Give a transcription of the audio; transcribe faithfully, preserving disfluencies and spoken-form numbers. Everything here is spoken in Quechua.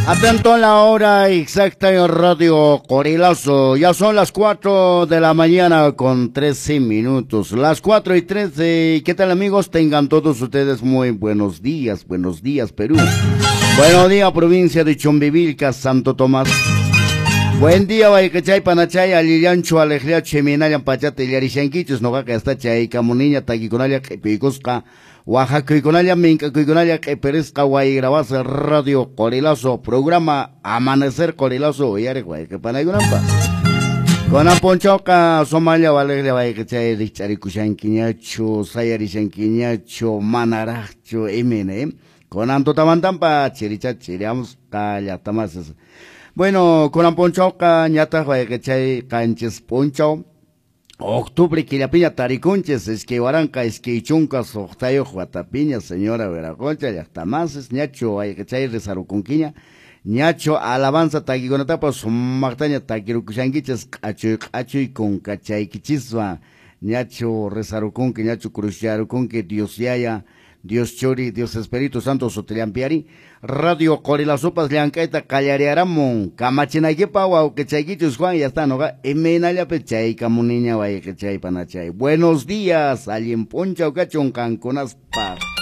Atento a la hora exacta en Radio Qorilazo. Ya son las cuatro de la mañana con trece minutos. Las cuatro y trece. ¿Qué tal, amigos? Tengan todos ustedes muy buenos días. Buenos días, Perú. Buenos días, provincia de Chumbivilcas, Santo Tomás. Buen día, wayqichay, panachay, allillanchu, aleqllachu, imaynallan pachata illarishankichis, noqaqa hasta chaykamuniña, takikunalla q'ipiykusqa, waqakuykunalla, mink'akuykunalla q'ipirisqa, wayrawasa Radio Qorilazo, programa Amanecer Qorilazo, uyariq wayqipanaykunanpaq. Kunan p'unchawqa sumaqlla waliqlla wayqichay rikch'arikushankiñachu, sayarishankiñachu, manaraqchu, imayna, eh? Kunan tutamantanpa chiricha chiriamusqa llaqtamasis. Bueno, kunan p'unchawqa ñataq wayqichay qanchis p'unchaw octubre killapiña tarikunchis iskay waranqa iskay chunka suqtayuq watapiña, señora Viraconcha llaqtamasis, ñachu wayqichay risarukunkiña, ñachu alabanza takikunatapas sumaqtaña takirukushankichis q'achuy q'achuy kunkachaykichiswan, ñachu risarukunki, ñachu cruzyarukunki, Dios yaya, Dios Churi, Dios Espíritu Santo sutillampiari, Radio Qorilazopas llank'ayta qallariaramun, kamachinaykipa wawqichaykichus Juan, ya está, noqa imaynallapi chaykamuniña wayqichay panachay. Buenos días, allin p'unchaw kachun qankunaspaq.